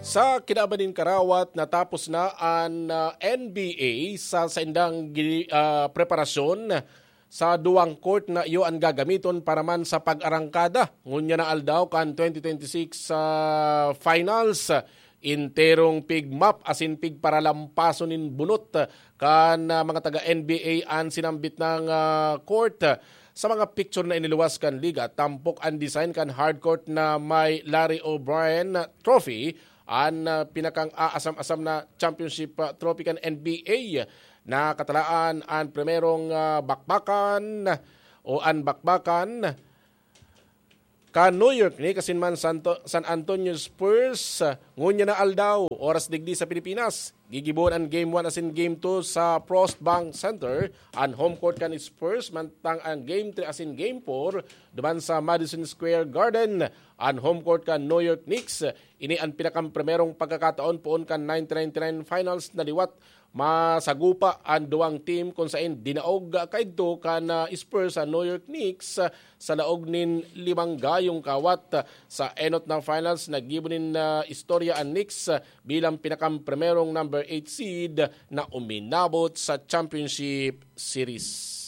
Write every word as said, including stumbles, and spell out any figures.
Sa kinaban nin karawat, natapos na an ah, N B A sa saindang gi- ah, preparasyon sa duwang court na iyo an gagamiton para man sa pag-arangkada ngunyan na aldaw kan twenty twenty-six sa finals. Enterong pigmap asin pigparalampason nin bunot kan ah, mga taga N B A an sinambit ng ah, court. Sa mga picture na iniluwas kan liga, tampok an design kan hardcourt na may Larry O'Brien Trophy, an ah, pinakang aasam-asam na championship ah, trophy kan N B A. Nakatalaan an primerong ah, bakbakan o an bakbakan kan New York Knicks asin man Santo, San Antonio Spurs. Ngunyan na aldaw, oras digdi sa Pilipinas, gigibohon an Game one asin Game two sa Frost Bank Center. An home court kan Spurs, mantang ang Game three asin Game four duman sa Madison Square Garden. An home court kan New York Knicks, ini an pinakang primerong pagkakataon poon kan nineteen ninety-nine finals na liwat masagupa an duwang team kun saen dinaog kaidto kan ah, Spurs sa New York Knicks ah, sa laog nin limang gayong kawat. Sa enot na finals, naggibo nin ah, istorya an Knicks ah, bilang pinakang primerong number eight seed na uminabot sa championship series.